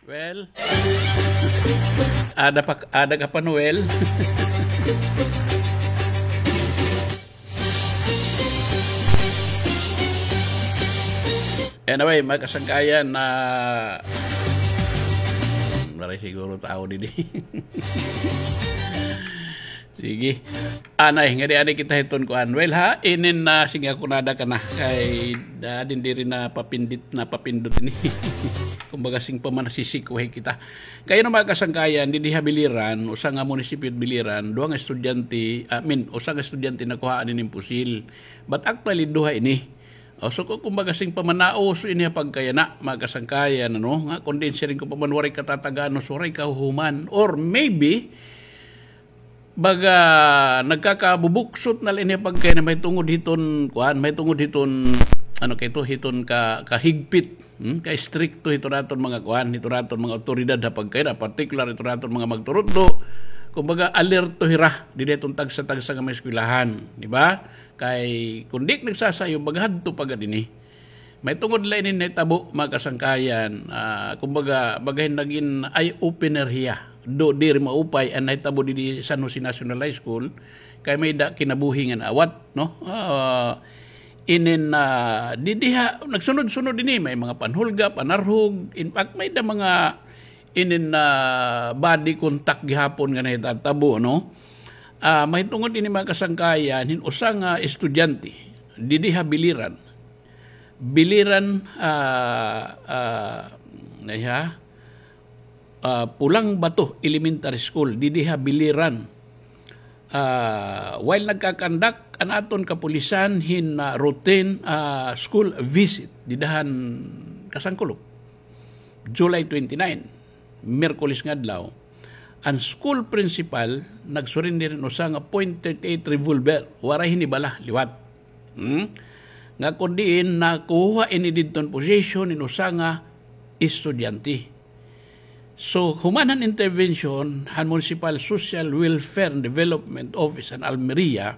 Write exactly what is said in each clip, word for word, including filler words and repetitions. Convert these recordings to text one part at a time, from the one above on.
Well, ada pa, ada ka pa, Noel. Anyway, mga kasangkayan, na maray siguro tao didi. Sige. Anay, ngadi anay kita hiton kuan. Well, ha, inin na, sige, ako nada ka na. Kay, da, din diri na papindit, na papindot ini. Kumbaga, sing pa man nasisikuhay kita. Kay ano, mga kasangkayan, didi ha Biliran, usa nga munisipyo Biliran, duha nga estudyante, I mean, usa nga estudyante nakuhaan ini hin pusil. But actually, duha ini. O, so, ku-, kumbaga, sing pa man nauso ini ha pagkayana, mga kasangkayan, ano, nga, kundi siring ko pa man, waray katatagan, no, so, waray kahuhuman. Or maybe, baga, nagkakabubuksot na la ini pagkayana mahitungod hiton, kuan, mahitungod hiton, ano kay ito, hiton ka, kahigpit, hmm? Ka-istrikto hiton aton mga kuan, hiton aton mga awtoridad ha pagkayana, partikular hiton aton mga magturutdo. Kumbaga, alerto hira, didi hiton tagsa-tagsa nga mga eskwelahan, di ba? Kay, kun di nagsasayo, baga hadto pa gad ini. Mahitungod la ini nahitabo, mga kasangkayan. Ah, kumbaga, baga hin nagin eye-opener hiya. Do, diri maupay an nahitabo didi San Jose National High School. Kay may-ada kinabuhi nga naawat, no? Ah, inin, ah, didi ha, nagsunod-sunod ini, may mga panhulga, panarhog. In fact, may-ada mga inin, ah, body contact gihapon nga nahitatabo, no? Ah, mahitungod ini, mga kasangkayan, hin usa nga estudyante, didi ha Biliran. Biliran, ah, ah, naiha, ah, Pulang Bato Elementary School, didi ha Biliran. Ah, while nagkakandak an aton kapulisan hin, ah, routine, ah, school visit, dida han Kasangkulop, July twenty-nine, Miyerkules nga adlaw, an school principal nagsurrender hin usa nga point thirty-eight revolver, waray hini bala, liwat. Hmm? Nga kun diin nakuha ini didton possession hin usa nga estudyante. So, human han intervention han Municipal Social Welfare and Development Office han Almeria,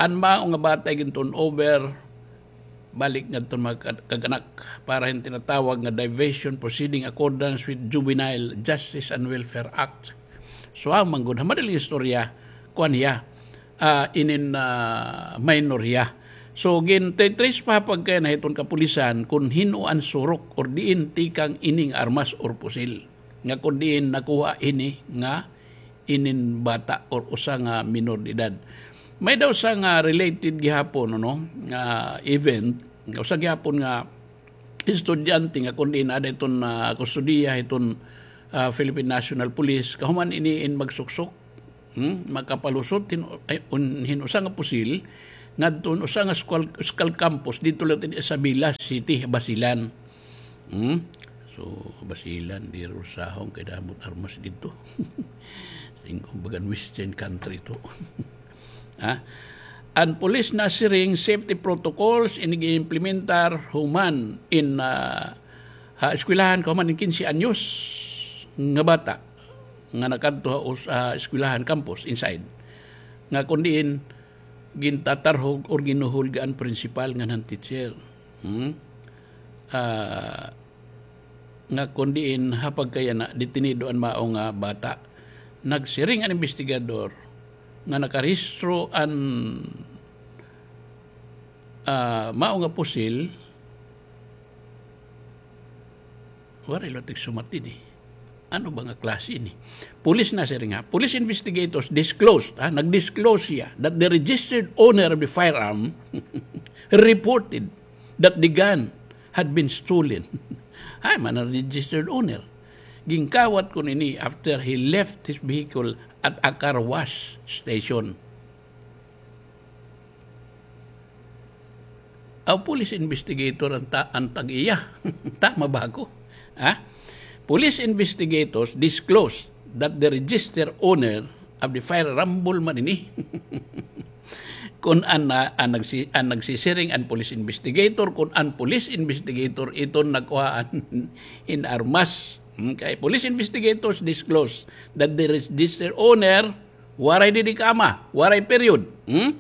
an mao nga bata gin-turn over balik ngadton mga kag-, kag-anak para hin tinatawag nga diversion proceeding accordance with Juvenile Justice and Welfare Act. So, ang manggod, ha madaling istorya, kuan hiya, ah, inin, ah, minor hiya. So, gin-trace pa pagkayana hiton kapulisan kun hin-o an surok or diin tikang ining armas or pusil. Nga kun diin nakuha ini nga inin bata or usa nga minor de edad. May daw usa nga related gihapon, ano, nga event, usa gihapon nga estudyante nga kun diin aada hiton, ah, kustodiya hiton, ah, Philippine National Police, kahuman ini in magsuksok, hmm, makapalusot hin, ay, un-, hin usa nga pusil ngadton usa nga school, school campus didto la ha Isabela City, Basilan. Hmm? So, Basilan, diri usahon kay damo it armas didto. Singko bagan Western country ito. Ha? An pulis nasiring safety protocols ini gin-implementar human in, ah, ha eskwelahan kahuman in kinse anyos nga bata nga nakadto ha us-, ah, eskwelahan campus inside. Nga kun diin gintatarhog or ginhuhulga an principal ngan han teacher. Hmm? Ah, nga kun diin ha pagkayana detenido an mao nga bata. Nagsiring an imbestigador nga nakarehistro an, ah, mao nga pusil. Waray la tigsumat ini. Ano ba nga klase ini? Police nasiring ha. Police investigators disclosed, ha, nag-disclose siya that the registered owner of the firearm reported that the gun had been stolen. Ay, man ang registered owner. Ginkawat kuno ini after he left his vehicle at a car wash station. Aw, police investigator an ta-, an tag-iya. Tama ba ako? Ha? Police investigators disclosed that the registered owner of the firearm, rambol man ini. Kun an, ah, an nagsi-, an nagsisiring an police investigator, kun an police investigator iton nagkuha an, in armas. Hmm, kay police investigators disclosed that the registered owner, waray didi kaama, waray period. Hmm?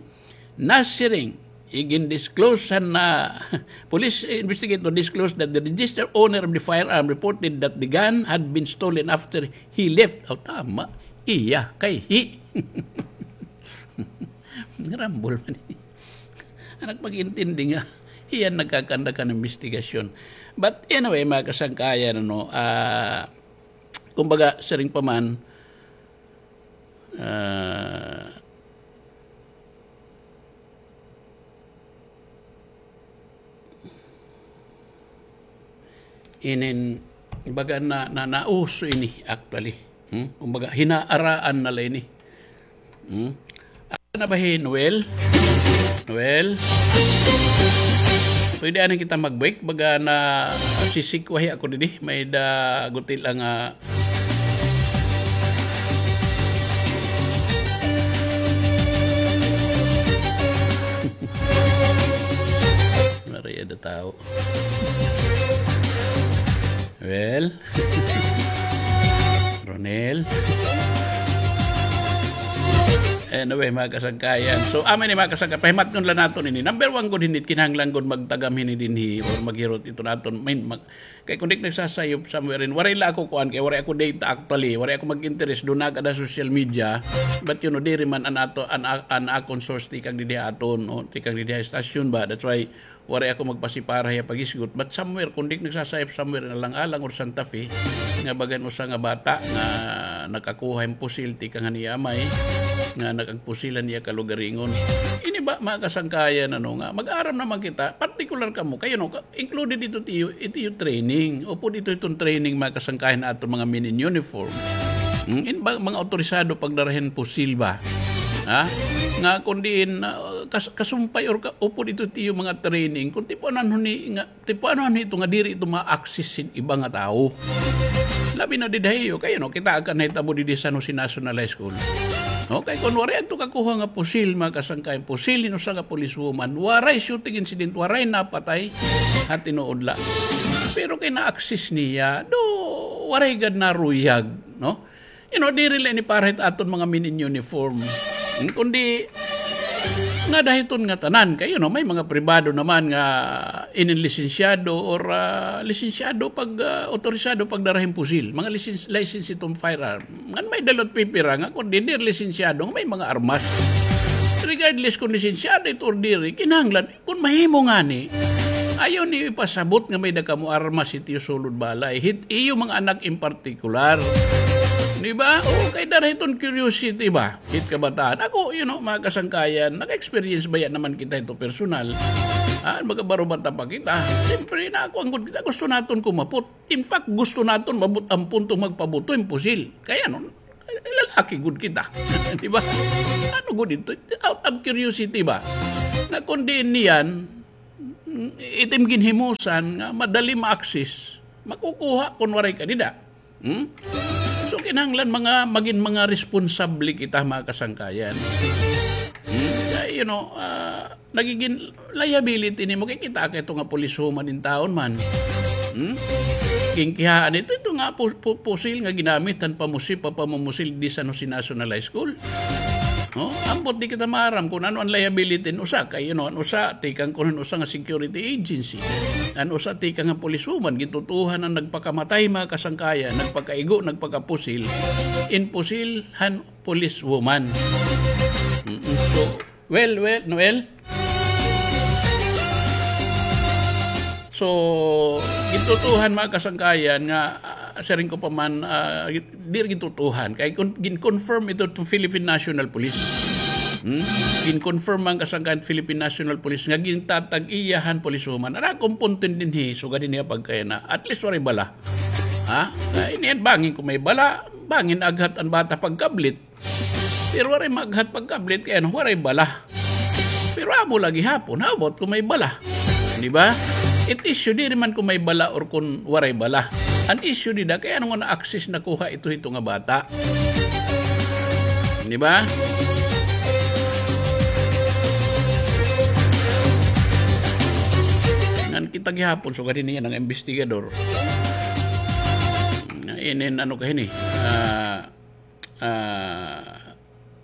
Nasiring igin-disclose han, ah, police investigator disclosed that the registered owner of the firearm reported that the gun had been stolen after he left. Aw, tama. Iya, kay he. Rambol man ini. An nagpag-intindi nga, hiya an nagkakandak han imbestigasyon. But anyway, mga kasangkayan, ano, ah, kumbaga, siring pa man, ah, inin, baga na, na, nauso ini, actually. Hmm? Kumbaga, hinaaraan na la ini. Hmm? Asa na ba hi Noel? Noel? Pwede anay kita mag-break? Baga nasisikwahi ako didi. May-ada guti la nga Maria da tao. Well, Ronel. Anyway, mga kasangkayan. So, amo ini, mga kasangkayan, pahimatngon la naton ini. Number one gud hini, kinahanglan gud magtagam hini dinhi or maghirot ito naton. Main, mag-, kay kun di nagsasayop somewhere in, waray la ako kuan, kay waray ako data actually, waray ako mag-interest, duna gad ha social media. But, you know, diri man an ato, an, an akon source tikang didi ha aton, no? Tikang didi ha estasyon ba? That's why waray ako magpasipara hiya paghisgot. But somewhere, kun di nagsasayop somewhere in Alang-alang or Santa Fe, nga bagan usa nga bata nga nakakuha hin pusil tikang han iya amay, nga nakagpusil han iya kalugaringon. Ini ba, mga kasangkayan, ano, nga mag-aram naman kita, partikular kamo, kay, you know, ka-, included ito tiyo, ito iyo training. Upod ito iton training, mga kasangkayan, aton mga men in uniform. Hmm, in ba, mga otorisado pagdara hin pusil ba? Ha? Nga kun diin, ah, kas-, kasumpay or ka-, upod ito tiyo mga training, kun tipuanan hini nga, tipuanan hito nga diri ito ma-access hin iba nga tawo. Labi na dida ha iyo, kay, you know, kita ka nahitabo didi San Jose National High School. No? Kay kun waray adto kakuha nga pusil, mga kasangkayan, pusil hin usa nga policewoman, waray shooting incident, waray napatay, ha tinuod la. Pero kay na-access niya, do, waray gad naruyag, no? You know, diri la ini para hit aton mga men in uniform. Hmm, kundi, ngada hiton ngatanan, kay, you know, may mga pribado naman nga inin lisensyado or, ah, lisensyado pag, ah, otorisado pagdara hin pusil, mga license, license iton firearm. Ngan may-ada la pipira nga kun di, diri lisensyado, nga may mga armas. Regardless kun lisensyado ito or diri, kinahanglan, kun mahimo ngani, ayaw niyo ipasabot nga may-ada kamo armas hit iyo sulod balay, hit iyo mga anak in partikular. Di ba? O, kay dara hiton curiosity ba? Hit kabataan. Ako, you know, mga kasangkayan, naka-experience baya naman kita hito personal. Ah, magkabarubata pa kita. Siyempre, nakuan gud kita, gusto naton kumapot. In fact, gusto naton maabot an punto magpabuto hin pusil. Kay ano, lalaki gud kita. Di ba? Ano gud ito? Out of curiosity ba? Nga kun diin niyan, it im ginhimusan nga madali ma-access, makukuha kun waray ka dida. Hmm? So, kinahanglan mga, magin mga responsable kita, mga kasangkayan. Hmm? Kay, you know, ah, nagigin liability nimo kay kita kay ito nga policewoman in town man. Hmm? Ginkihaan ito, ito nga pu-, pu-, pusil nga ginamit han pamusi-, pa-, pamumusil di San Jose National High School. No? Ambot di kita maaram kun ano an liability hin usa kay, you know, an usa tikang kun an usa nga security agency. An usa tikang nga policewoman, gintutuohan an nagpakamatay, mga kasangkayan, nagpakaigo, nagpakapusil, in pusil han policewoman. Mm-mm. So, well, well, Noel? So, gintutuohan, mga kasangkayan, nga, ah, siring ko pa man, ah, diri gintutuohan. Kay kun-, gin-confirm ito to Philippine National Police. Hmm? Gin-confirm, mga kasangkayan, Philippine National Police nga gintatag-iya han policewoman. An akon punto dinhi, sugad dinhi ha pagkayana. At least waray bala. Ha? Kay niyan, bangin kun may bala, bangin aghat an bata pagkablit. Pero waray maghat pagkablit kay ano, waray bala. Pero amo la gihapon, how about kun may bala? Di ba? It issue diri man kun may bala or kun waray bala. An issue dida kay ano nga na-access, nakuha ito hito nga bata. Di ba? Ngan kita gihapon, sugad hini nga mga imbestigador. Inin ano ka hini? Ah, ah,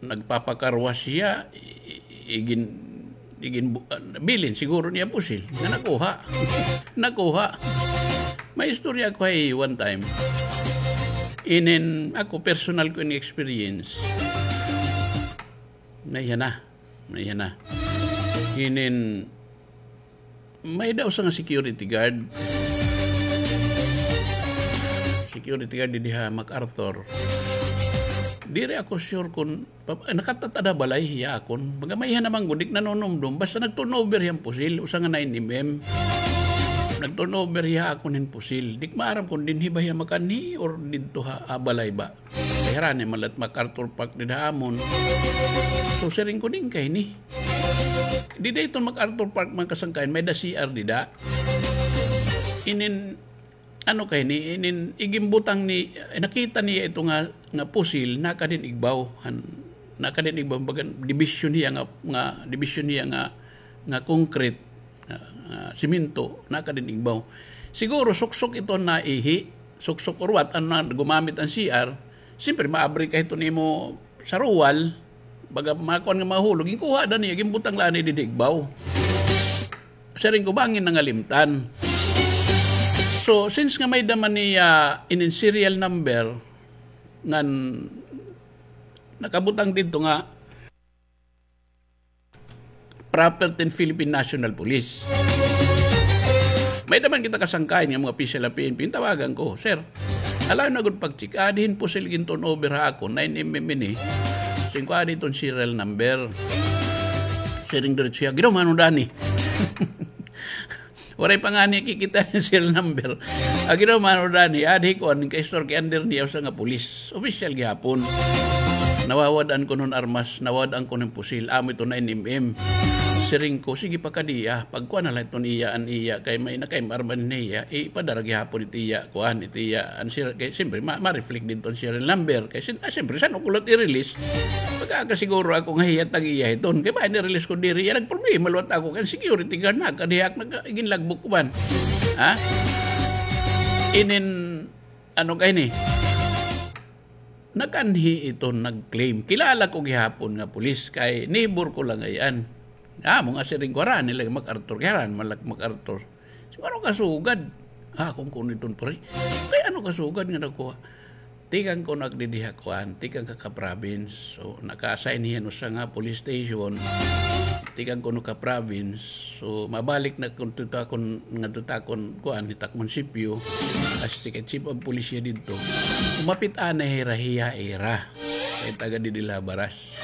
nagpapakarwas siya, i-, i-, igin-, Iginbu-, ah, bilin siguro niya pusil. Nga nakuha. Nakuha. May istorya ako hay one time. Inin ako, personal ko ini experience. Naiha na. Naiha na. Inin, may-ada usa nga security guard. Security guard didi ha MacArthur. Diri ako sure kon pa-, nakatat-ada balay hiya akon. Baga may-ada naman gud, di nanunumdom. Basta nag-turnover hiya hin pusil, usa nga nine M M. Nag-turnover hiya akon hin pusil. Di ko maaram kon dinhi ba hiya makanhi or didto ha, ha balay ba. Kay harani man la it MacArthur Park dida ha amon. So, siring ko, diin kay ini? Dida iton MacArthur Park, mga kasangkayan, may-ada C R dida. Inin, ano kay ini, inin, iginbutang ni, eh, nakita niya ito nga, nga pusil, nakadin igbaw, han, nakadin igbaw, bagan, dibisyon hiya nga, nga, dibisyon hiya nga, nga concrete, nga, nga simento, nakadin igbaw. Siguro, suksok ito na ihi, suksok or what, ano na, gumamit an C R, siyempre, maabri ka ito nimo sa ruwal, baga, makuan nga mahulog, ginkuha da niya, ginbutang la niya didi igbaw. Siring ko, bangin nangalimtan. So, since nga may-ada man niya inin serial number, ngan nakabutang didto nga property hin Philippine National Police. May-ada man kita kasangkayan nga mga opisyal ha P N P, tawagan ko, "Sir, allow na gud pag-check." "Ah, diri hin pusil gin-turnover ha akon, nine M M ini." Siring ko, "Ah, diri iton serial number." Siring diretso hiya, "Giraw, mano dani?" Waray pa ngani kikita hin serial number. Agi daw, mano dani, adi kuan, ka-istor kay under niya usa nga pulis. Opisyal gihapon. Nawawad-an kuno hin armas, nawawad-an kuno hin pusil. Amo ito nine M M. Siring ko, sige pa kadi, ah. Pagkuan na la iton iya, an iya, kay may nakay arma niya. Ipadara gihapon it iya, kuan, it iya, an sir, kay siyempre, ma-, ma-reflect didto an serial number. Kay sin-, ah, siyempre, san-o ko liwat i-release? Pagkakasiguro ako nga hiya tag-iya hiton. Kay bangin i-release ko diri, iya nagproblema liwat ako. Kay security guard na, kadiha ak nag-, ginlagbok ko man. Ha? Inin, ano kay ini? Nakanhi ito, nag-claim. Kilala ko gihapon nga pulis, kay neighbor ko la ngay-an. Amo nga siring ko, harani la MacArthur, kay harani man la MacArthur. Siguro kasugad. Ah, kon kuno iton, pre. Kay ano kasugad nga nakuha? Tikang kuno ak didi ha kuan, tikang ka, ka province. So, naka-assign hiya hin usa nga police station. Tikang kuno ka province. So, mabalik na kuno ta kon, ngadto ta kon kuan, hit ak munisipyo. As tikang chief of police hiya didto. Umapit anay hira hiya ira. Kay taga didi la ha Baras.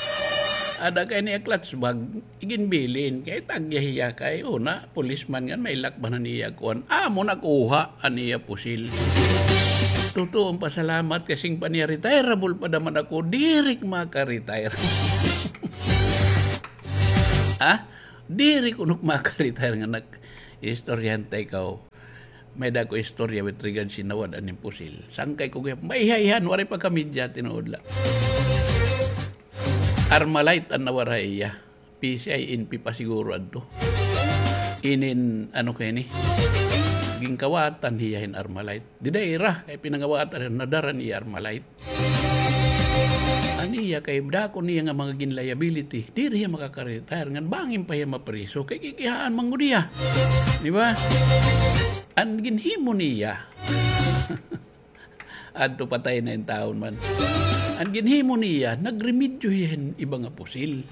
Ada kay niya clutch bag. Iginbilin, kay tag-iya hiya kay una, policeman ngan may lakban an iya kuan. Amo nakuha an iya pusil. Tutuo an pasalamat kay siring pa niya, retireable pa daman ako, diri ak maka-retire. Ha? Diri kuno ak maka-retire nga nag-istoryahan ta ikaw. May-ada ko istorya with regards hin nawad-an hin pusil. Sangkay ko gihap, maiha-ihan, waray pa ka media, tinuod la. Armalite an nawara ha iya. P C I, N P pa siguro adto. Inin, ano kay ini? Ginkawatan hiya hin Armalite. Dida ira, kay pinangawatan, nadara an iya Armalite. An iya kay dako niya nga mga gin-liability. Diri hiya makaka-retire. Ngan bangin pa hiya mapriso. Kay kikihaan man gud hiya. Di ba? An ginhimo niya. Adto patay na in taon man. An ginhimo niya, nagremedyo hiya hin iba nga pusil.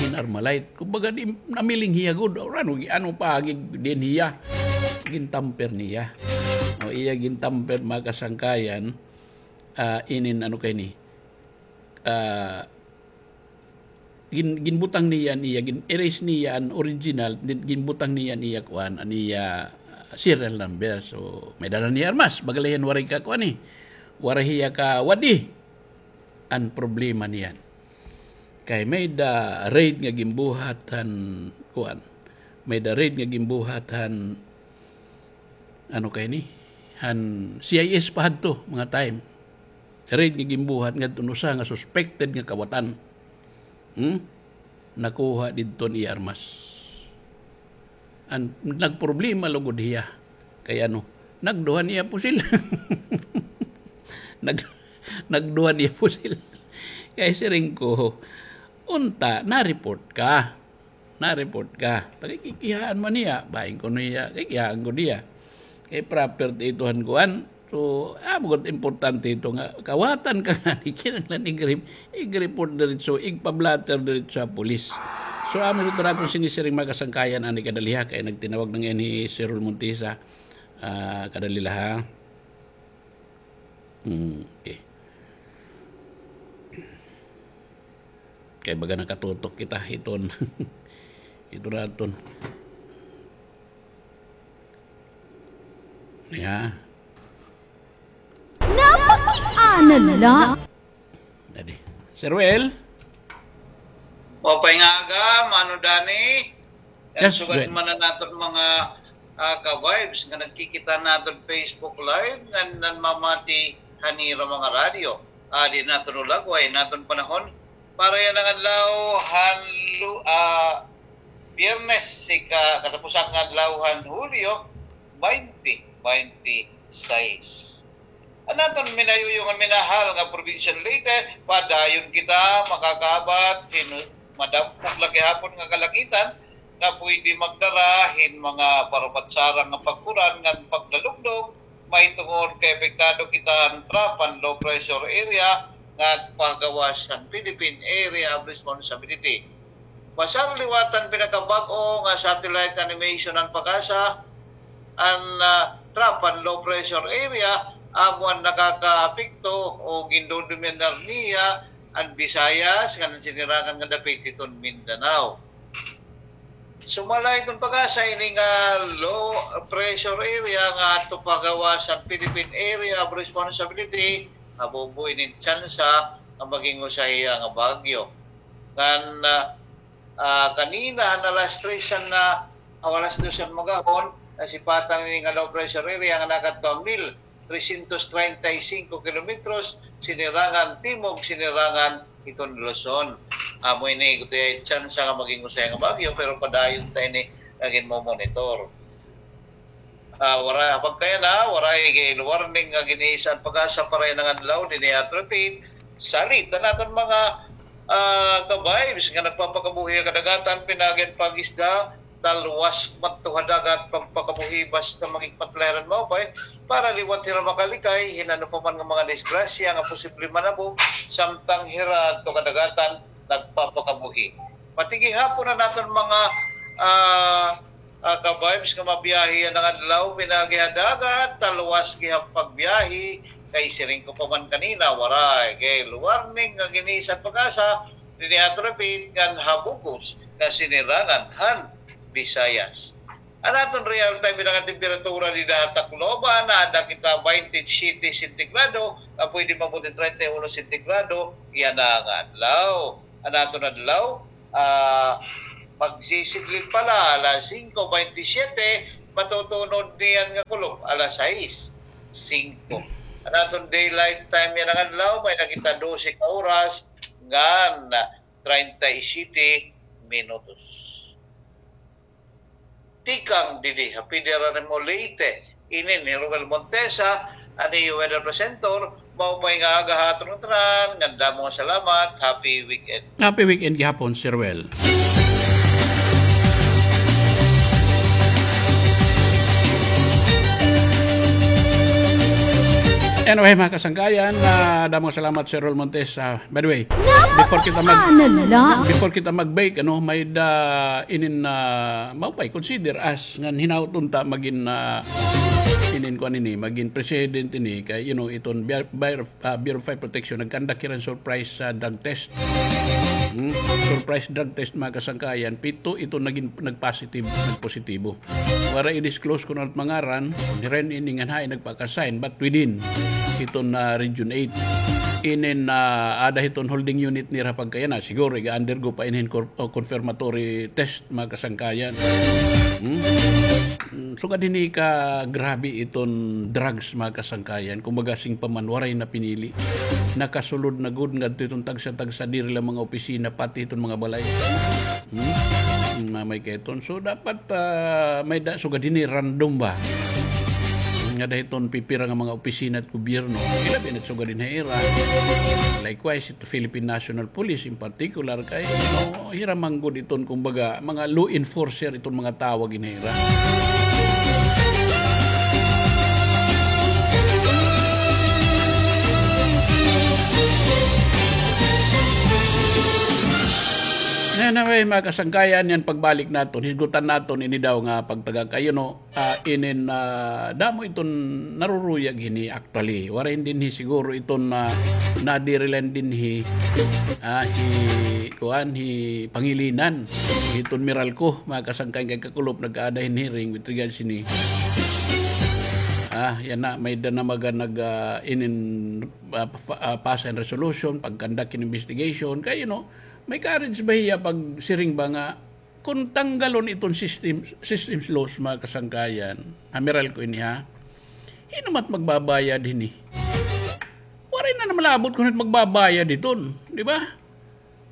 Hin Armalite. Kumbaga, di, namiling hiya gud. Or ano, ano pa, gi-, din hiya. Gintamper niya. O, iya gintamper, mga kasangkayan, ah, inin ano kay ini. Ah, gin-, ginbutang niya an iya, gin-erase niya an original, din-, ginbutang niya an iya kuan, an iya, ah, serial number. So, may dara niya armas, baga la hiya waray ka kuan, eh. Waray hiya kawad-i. An problema niyan. Kay may-ada raid nga ginbuhat han kuan. May-ada raid nga ginbuhat han, ano kay ini? Han C I S pa hadto, mga time. Raid nga ginbuhat ngadto hin usa nga suspected nga kawatan. Hmm? Nakuha didto an iya armas. An, nagproblema lugod hiya. Kay ano, nagduha an iya pusil. Nag-, nagduha an iya pusil. Kay siring ko, unta, na-report ka. na-report ka. Taga kikihaan man niya, bahin ko niya, kikihaan ko niya. Kay property ito han kuan. So, amo gud importante ito nga, kawatan ka ngani, kinahanglan ig-re-, ig-report diretso, igpa-blotter diretso ha pulis. So, amo ito naton sinisiring mga kasangkayan, ani kadaliha, kay nagtinawag na ngayon ni Sir Rol Montesa, ah, kadali la, ha? Hmm, okay. Kay baga nakatutok kita hiton. Ito naton. Ya. Napakiana la. Dadi. Sir Well? Maupay nga aga, Mano Danny. Yes, sugad man an aton mga, ah, ka-vibes nga nagkikita naton Facebook Live, nga nanmamati han ira mga radyo. Ah, di naton ulagway an aton panahon. Para yana nga adlaw, han lu-, ah, Biyernes, ika-, katapusan nga adlaw han Hulyo, baynte baynte sais. An aton minayuyo nga minahal nga probinsya han Leyte, padayon kita makakaabat hin madampog la gihapon nga kalangitan nga pwede magdara hin mga parupat-sarang nga pag-uran ngan pagdalugdog, mahitungod kay apektado kita han trough and low pressure area nga pagawas han Philippine Area of Responsibility. Basta liwat han pinakabag-o nga satellite animation han PAGASA, an, ah, trough and low pressure area, amo an nakakaapekto o gindodominar niya an Visayas ngan an sinirangan nga dapit hiton Mindanao. Sumala hiton PAGASA ini nga low pressure area nga adto pagawas han Philippine Area of Responsibility, mabubo ini tsansa nga maging usa hiya nga bagyo. Ngan, ah, ah, kanina han alas tres han, ah, o alas dos han maghapon, nasipatan ini nga low pressure area nga nakadto ha mil trescientos treinta y cinco kilometros sinirangan timog, sinirangan hiton Luzon. Amo ini, kutoy tsansa nga maging usa nga bagyo, pero padayon ta ini nga ginmo-monitor. Ah, waray, ha pagkayana, waray gale warning nga gin-iisa an PAGASA para yana nga adlaw dinhi ha Tripit. Salit an aton mga, ah, ka-vibes nga nagpapakabuhi ha kadagatan, pinaagi han pag-isda, talwas madto ha dagat, pagpakabuhi basta maghikmat la hira hin maupay, para liwat hira makalikay hin ano pa man nga mga disgrasya nga posible manabo samtang hira adto kadagatan nagpapakabuhi. Pati gihapon an aton mga, ah, ah, ka-vibes nga mabiyahe yana nga adlaw, pinaagi ha dagat, talwas gihap pagbiyahe, kay siring ko pa man kanina, waray gale warning nga gin-iisa an PAGASA dinhi ha Tripit ngan ha bug-os nga sinirangan han Visayas. An aton real time nga temperatura dida ha Tacloban, naada kita baynte siyete sentigrado, nga pwede maabot hin treinta y uno sentigrado yana nga adlaw. An aton adlaw, ah, magsisidlin pa la, alas singko baynte siyete, matutunod niyan nga kulop, alas sais singko. An aton daylight time yana nga adlaw, may-ada kita dose ka oras ngan treinta y siete minutos. Tikang didi ha Federal Leyte, ini ni Romel Montesa, an iyo weather presenter. Maupay nga aga ha aton ngatanan, ngan damo nga salamat. Happy weekend. Happy weekend gihapon, Sir Well. Anyway, mga kasangkayan, ah, damo nga salamat, Sir Rol Montes. Ah, by the way, before kita mag-, before kita mag-break, ano, may-ada inin, ah, maupay, consider as ngan hinaot unta magin, ah, inin kuan ini, magin president ini kay, you know, iton Bureau, Bureau, ah, Bureau of Fire Protection nagkandak hira hin surprise, ah, drug test. Hmm? Surprise drug test, mga kasangkayan, pito ito nagin, nagpositive, nagpositibo. Waray i-disclose kun ano it mga ngaran, hira ini ngan hain nagpaka-assign, but within iton, ah, Region eight. Inin, ah, aada hiton holding unit nira pagkayana, siguro iga-undergo pa ini hin cor-, o confirmatory test, mga kasangkayan. Hmm? Mm, sugad hini kagrabe iton drugs, mga kasangkayan. Kumbaga, siring pa man, waray na pinili. Nakasulod na gud ngadto iton tagsa-tagsa, diri la mga opisina, pati iton mga balay. Hmm? Hmm, mamay kay iton. So, dapat, ah, may-ada, sugad hini random ba? Hmm, Ngada hiton pipira nga mga opisina it gobyerno, ilabi na it sugad dinhi ha ira. Likewise, it Philippine National Police in particular, kay, no, hira man gud iton, kumbaga, mga law enforcer iton mga tawag dinhi ha ira. Anyway, mga kasangkayan, yana pagbalik naton, hisgutan naton ini daw nga pagtaga kay, you know, ah, inin, ah, damo iton naruruyag hini actually. Waray dinhi siguro iton, ah, nadiri la dinhi, ah, hi, kuan, hi Pangilinan. Hiton Meralco, mga kasangkayan, kay kakulop nagkaada hin hearing with regards hini. Ah, yana, may-ada na mga nag, ah, inin, ah, pa-, ah, pasa hin resolution, pag-conduct hin investigation. Kay, you know, may courage ba hiya pagsiring ba nga kon tanggalon iton system, systems laws, mga kasangkayan, ha Meralco ini, ha? Hin-o man it magbabayad hini? Waray na naman labot kon hin-o it magbabayad hiton, di ba?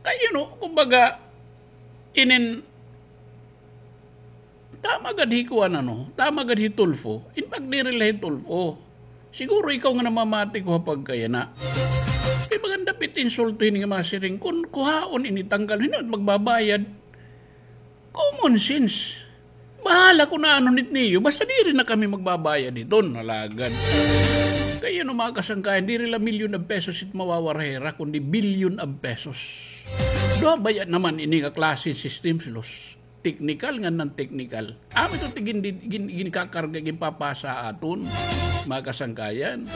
Kay, you know, kumbaga, inin, tama gad hi kuan, ano, tama gad hi Tulfo. In fact, diri la hi Tulfo. Siguro ikaw nga namamati ko ha pagkayana. Kay bagan dapit insulto hini nga masiring, kon kuhaon ini, tanggalon, hin-o it magbabayad? Common sense. Bahala kon ano it niyo, basta diri na kami magbabayad hiton, alagad. Kay, you know, mga kasangkayan, diri la million of pesos it mawawara ha ira, kundi billion of pesos. Duha baya naman ini nga klase hin systems laws? Technical ngan non-technical. Amo ito it gin-, gin-, ginkakarga, ginpapasa ha aton, mga kasangkayan.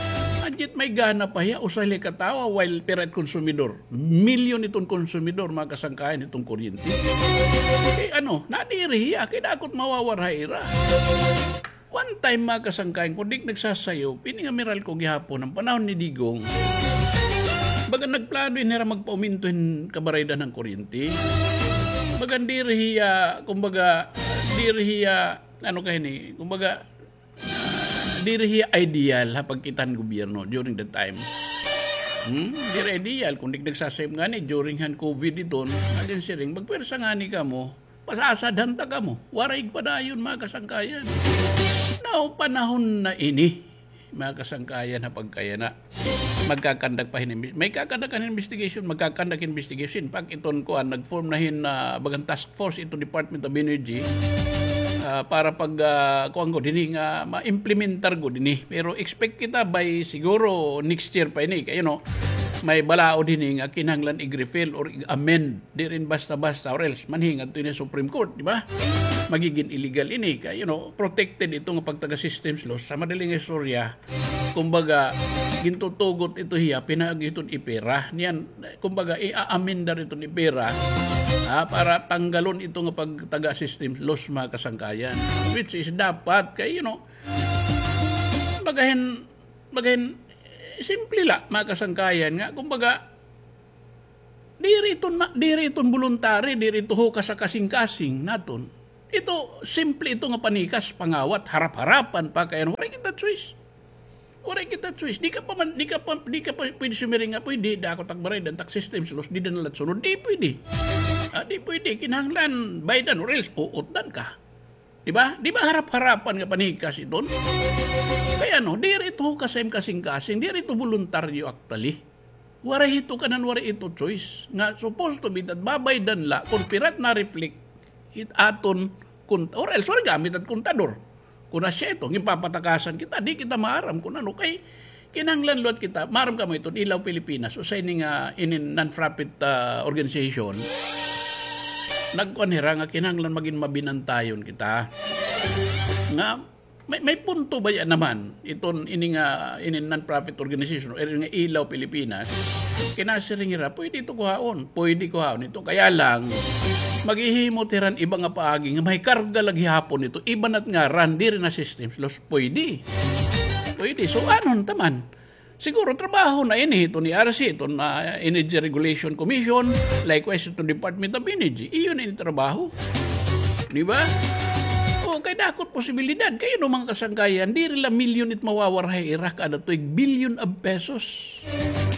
And yet may gana pa hiya, usa la ka tawo, while pira it konsumidor. Milyon iton konsumidor, mga kasangkayan, iton kuryente. Kay ano, nadiri hiya, kay dako it mawawara ha ira. One time, mga kasangkayan, kon di ak nagsasayop, ini nga Meralco gihapon, ha panahon ni Digong, bagan nagplano ini hira magpauminto hin kabaraydan han kuryente. Bagan diri hiya, kumbaga, diri hiya, ano ka hini, kumbaga, diri hiya ideal ha pagkita han gobyerno during that time. Hmm? Diri ideal. Kon di ak nagsasayop ngani, during han COVID iton, nagin siring, magpwersa ngani kamo, pasasadhan ta kamo. Waray padayon, mga kasangkayan. Now, panahon na ini, mga kasangkayan, ha pagkayana. Magkakandak pa hin imbi-, may kakandak hin investigation, magkakandak investigation. Pag iton kuan, nag-form na hin, ah, bagan task force iton Department of Energy, ah, para pag, ah, kuan gud hini nga ma-implementar gud hini. Pero expect kita by siguro next year pa ini. Kay, you know, may balaod hini nga kinahanglan i-repeal or i-amend. Diri ini basta-basta, or else manhi ngadto ini ha Supreme Court, di ba? Magigin illegal ini kay, you know, protected ito nga pagtaga systems laws. Sa madali nga istorya, kumbaga, gintutugot ito hiya, pinaagi iton EPIRA. Niyan, kumbaga, i-amendar iton EPIRA, ha, para tanggalon ito nga pagtaga systems laws, mga kasangkayan. Which is dapat kay, you know, bagahin, bagahin, simple la, mga kasangkayan, nga, kumbaga, diri ito na, diri ito voluntary, diri ito hukas ha kasingkasing naton. Ito, simple ito nga panikas, pangawat, harap-harapan pa, kay waray kita choice. Waray kita choice. Di ka pa man, di ka pa, di ka pa pwede sumiring nga, pwede, dako it ak baraydan, it ak systems laws, dida na la it sunod. Di pwede. Ah, di pwede. Kinahanglan baydan or else uutdan ka. Di ba? Di ba harap-harapan nga panikas iton? Kay ano, diri ito hukas ha im kasingkasing, diri ito voluntaryo actually. Waray ito kanan, waray ito choice. Nga supposed to be that babaydan la kon pira it na-reflect hit aton kon-, or else waray gamit it kontador. Kon asya ito, ginpapatakasan kita, di kita maaram kon ano. Kay kinahanglan liwat kita, maaram kamo iton Ilaw Pilipinas, usa ini nga inin non-profit, ah, organization. Nagkuan hira nga kinahanglan magin mabinantayon kita. Nga may, may punto baya naman iton ini nga, ini non-profit organization, or ini nga Ilaw Pilipinas, kinasiring hira, pwede ito kuhaon, pwede kuhaon ito. Kaya lang, maghihimo it hira hin iba nga paagi nga may karga la gihapon ito, iba na it ngaran, diri na systems laws, pwede. Pwede. So, ano taman? Siguro trabaho na ini, ito ni R C, ito na Energy Regulation Commission, likewise ito Department of Energy. Iyo na ini trabaho. Di ba? O, kay dako it posibilidad. Kay ano, mga kasangkayan, diri la milyon it mawawara ha ira kada tuig, billion of pesos.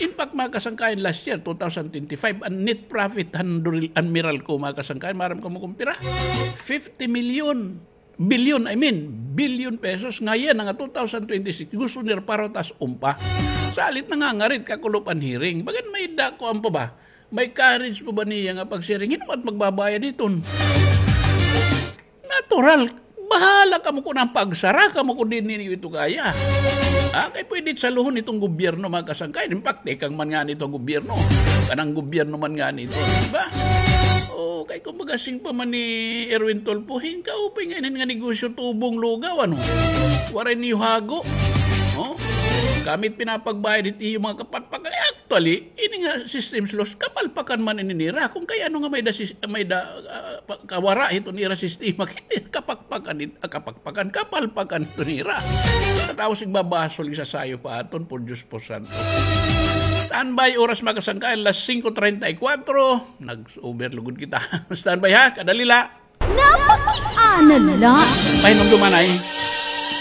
In fact, mga kasangkayan, last year, two thousand twenty-five, an net profit han Doril-, han Meralco, mga kasangkayan, maaram kamo kon pira? Fifty million. Bilyon, I mean, bilyon pesos. Ngayan, nga two thousand twenty-six, gusto nira parutason pa. Salit nangangarit, kakulo pa an hearing. Bagan may da, kuan pa ba? May courage pa ba niya nga pagsiring? Hin-o man it magbabayad hiton? Natural. Bahala kamo kon an pagsara kamo kon diri niyo ito kaya. Ah, kay pwede saluhon iton gobyerno, mga kasangkayan. In fact, tikang man ngani ito gobyerno. Kanang gobyerno man ngani ito, di ba? O, kay kumbaga siring pa man ni Erwin Tulfo, hin kaupay nga inin nga negosyo tubong lugaw, ano? Waray niyo hago. O? Kami it pinapagbayad it iyo mga kapalpakan. Actually, ini nga systems loss, kapalpakan man ini nira. Kon kay ano nga may da, sis-, may da, ah, pa-, kawara hiton ira sistema, kay kapakpakan it-, ah, kapakpakan, kapalpakan hiton ira. Tapos igbabasol, isasayo pa aton, por Diyos, por santo. Standby, oras, mga kasangkayan, alas singko treinta y cuatro. Nag-over lugod kita. Standby ha, kadali la. Napakiana la. Pahinumduman ay.